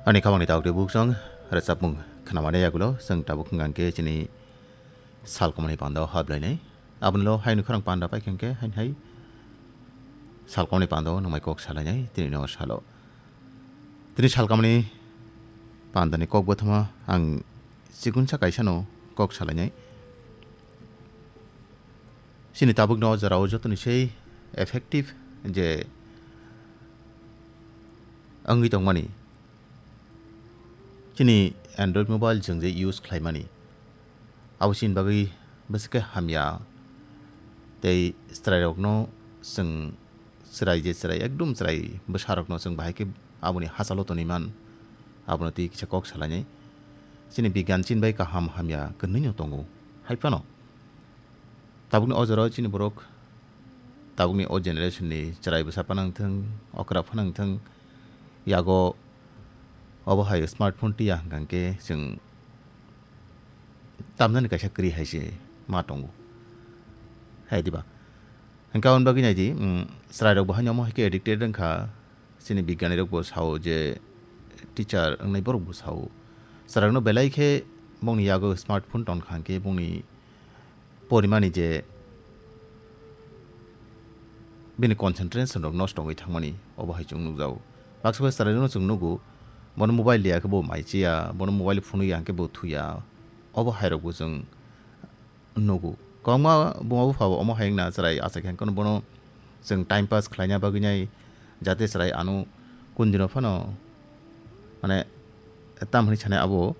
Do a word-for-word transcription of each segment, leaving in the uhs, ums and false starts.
Ani khamani tabuk de buksong rwchapmung khnamani yagulo chwng tabuk hwnkha khe chini salkomani panda o hablainai. Aboni lo haino khorang panda paikha khe hain hai salkomani panda o nwngmai kok salainai tini no salo. Tini salkomani pandani kok bothoma ang chikunsa kaisano kok salainai. Chini tabukno o jorao jotoni sei effective je wngwi tongmani. Chini Android mobile chwng je use khlaimani, abo chini bagwi bwswk khe hamya. Tei chwrairokno chwng chwrai je chwrai, ekdum chwrai bwsarokno chwng bahai khe aboni hachalo toniman, abono twi kisa kok salainai. Chini bigyan chini bai kaham hamya kwnwino tongo. Hai phano tabukni o jorao chini borok, tabukni o generation ni chwrai bwsa phano wngthwng, okra phano wngthwng, yago obo hai smartphone twiya hwnkha khe chwng tamjani kaisa kwrwi hai se ma tongo. Hai diba? Hwnkhe aboni bagwi nai di, mm, chwrairok bo haino omo hai khe addicted wngkha. Chini bigyanirok bo sao je teacher wngnai borok bo sao. Chwrairokno belai khe bongni yago smartphone tongkha hwnkhe bongni porimani je bini concentration rok nosto wngwi thangmani obo hai chwng nukjago. Baksa baksa chwrairokno chwng nugo, bono mobile liya khe bo mai chiya, bono mobile phunukya hwnkhe bo thuya. Obo hairokbo chwng nugo. Kwbangma buma bupha bo omo hai wngna chwrai achai khe bono chwng time pass khlaina bagwi nai, jate chwrai ano kundino phano, mane, tam hwnwi sanai abo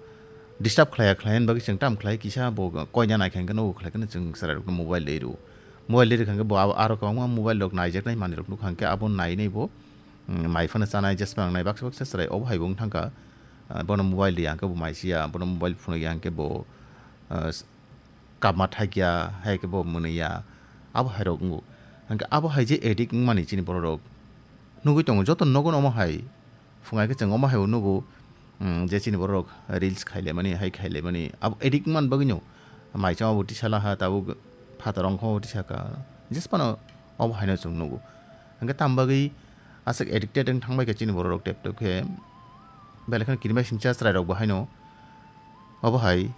disturb khlaiya khlaina bagwi chwng tam khlai kisa bo koina nai khe nugo khlai khe chwng chwrairokno mobile rw rw. Mobile rw khe bo abo aro kwbangma mobile rok naijaknai manwirok nukha hwnkhe abo nainai bo, mm, mai phano chanai jesma wngnai baksa baksa chwrai obo hai bo wng thangkha. Ah, bono mobile rwya hwnkhe bo mai chiya, bono mobile phunukya hwnkhe bo, ah, kapma thakya, hai khe bo mwnwi ya, abo hai rok wngo. Hwnkhe abo hai je addict wngmani chini borok rok nugwi tongo, joto nogo omo hai phungai khe chwng omo hai bo nugo, mm, je chini borok rok reels khailaimani, hai khailaimani, abo addict wngmani bagwi no mai chama bo tisa laha, tabuk phataro wngkha bo tisa kha, jesphano obo hai no chwng nugo. Hwnkhe tam bagwi aswk addicted wng thang bai kha chini borok rok tep tep khe, belai kheno kirimasingcha chwrai rok bo haino obo hai.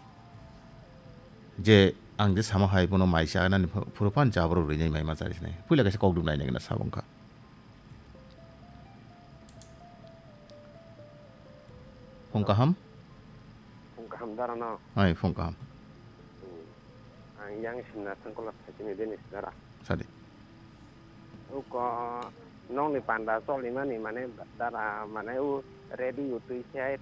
Je ang je sama hai bono mai cha nani phu-, phuru phan jabra rwi nai mai ma chari sinai. Puila kaisa kok dum nai nai na sabong kha. Phung kaham? Phung kaham dara no. Ai, phung kaham. Hmm. Ang yang simna thangkola thachini Denis dara. Sadi. Uko nongni panda choli mani mane dara mane u ready u twi se